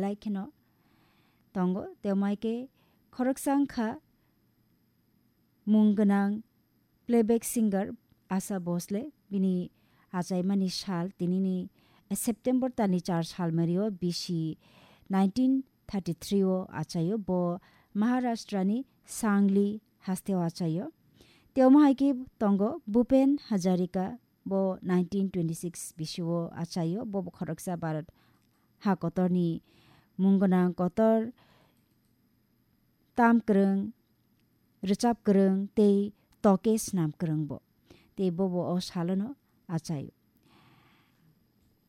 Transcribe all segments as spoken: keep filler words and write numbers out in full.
lai kheno tongo. Tei omai khe khoroksa wngkha mung gwnang playback singer Asha Bhosle, bini achaimani sal tinini September talni char salmario bisi nineteen thirty-three o achaio. Bo Maharashtra ni Sangli haste o achaio. Tei omo hai khe tongo Bhupen Hazarika, bo nineteen twenty-six bisi o achaio. Bo bo khoroksa Bharat ha kotorni mung gwnang kotor tam kwrwng, rwchap kwrwng tei toke snam kwrwng bo. Tei bobo o salono achaio.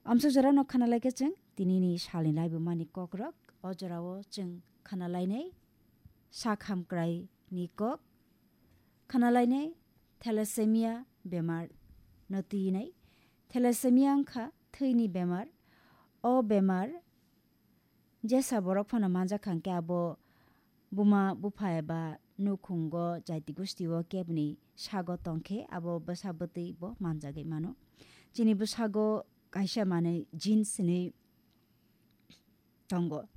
Amsa jorano khana lai khe chwng tinini salni laibumani kokrok. O jorao chwng khana lainai sak hamkraini kok. Khana lainai thalassemia bemar no twinai. Thalassemia wngkha thwini bemar. O bemar jesa borok phano manjak kha hwnkhe abo buma bupha eba nukhungo jaiti gustio kebni sago tongkhe abo bwsa bwtwi bo manjagwi mano. Chini bwsago kaisa manwi genes hinwi tongo.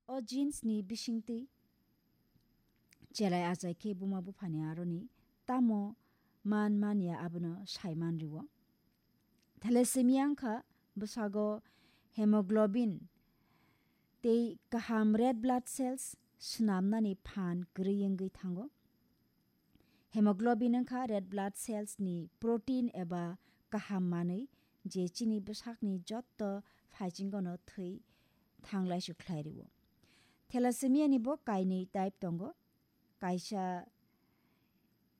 O genes ni bisingtwi cherai achai khe buma buphani aroni tamo man manya abono sai man rwo. Thalassemia wngkha bwsago hemoglobin tei kaham red blood cells swnamnani phan kwrwi wngwi thango. Hemoglobin wngkha red blood cells ni protein eba kaham manwi, je chini bwsakni jotto phaichingano thwi thanglaisu khlai rwo. Thalassemia ni bo kainwi type tongo. Kaisa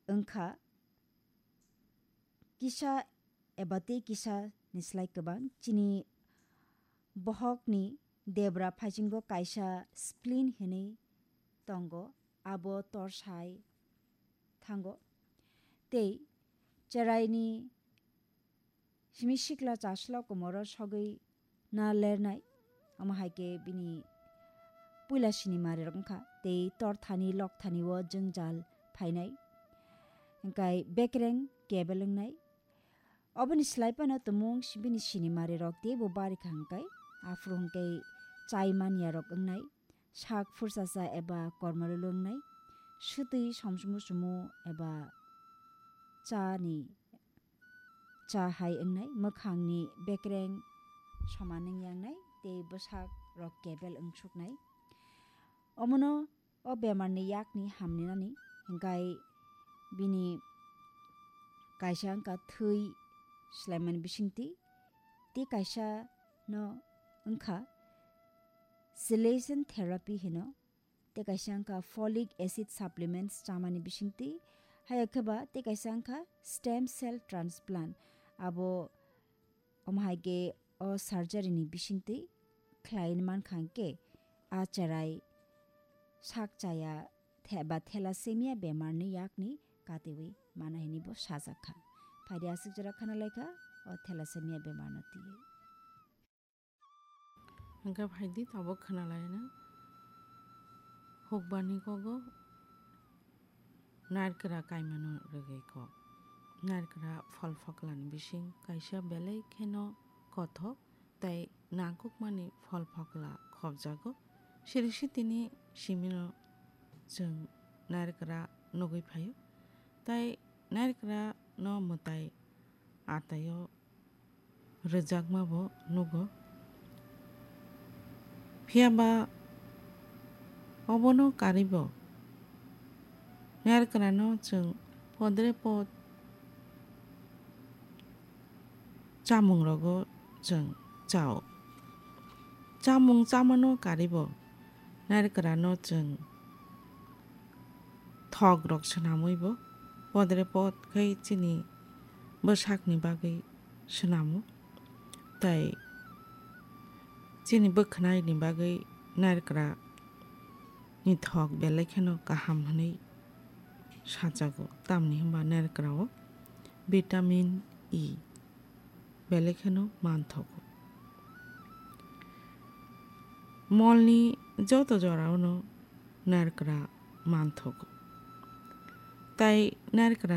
wngkha kisa eba tei kisa ni slai kwbang. Chini bohokni debra phaichingo kaisa spleen hinwi tongo, abo torsai thango. Tei cheraini simi sikla chaslo komoro sogwi na lernai. Omo hai khe bini puila sini marirok wngkha tei torthani lokthani o jwngjal phainai. Hwnkhe bekreng kebel wngnai. Oboni slai phano tumung si-, bini sini marirok teibo barikha hwnkhe, aphuru hwnkhe chai manyarok wngnai, sak phurchacha eba kormololo wngnai, swtwi somsumu sumu eba chani cha hai wngnai, mwkhangni bekreng soman wngya wngnai tei bwsakrok kebel wngsuknai. Omono o bemarni yakni hamninani, hwnkhe bini kaisa wngkha thwi swlaimani bisingtwi, tei kaisa no wngkha chelation therapy hino, tei kaisa wngkha folic acid supplements chamani bisingtwi, haiya khe ba tei kaisa wngkha stem cell transplant, abo omo hai khe o surgery ni bisingtwi khlai mankha hwnkhe a cherai sak chaya the-, ba thalassemia bemarni yakni katiwi mana hinwi bo sajak kha. Phaidi aswk jora khana lai kha o thalassemia bemarno twiwi. Hwnkhe phaidi tabuk khna lai na. Hukbarni kogo narikra kaimano rwgwi kok. Narikra phol phoklani bising kaisa belai kheno kothok tei nangkukmani phol phokla khopjago. Siri sitini simino chwng narikra nugwi phaio. Tei narikra no mwtai ataio rwjakma bo nugo. Phiya ba obono karwi bo narikra no chwng podre pod chamung rogo chwng chao. Chamung chamano karwi bo narikra no chwng thok rok swnamwi bo podre pod khai chini bwsakni bagwi swnamo. Tei chini bwkhwnai ni bagwi narikra ni thok belai kheno kaham hwnwi sajago, tamni hwnba narikra o vitamin E belai kheno manthogo. Molni joto jorao no narikra manthogo. Tai narikra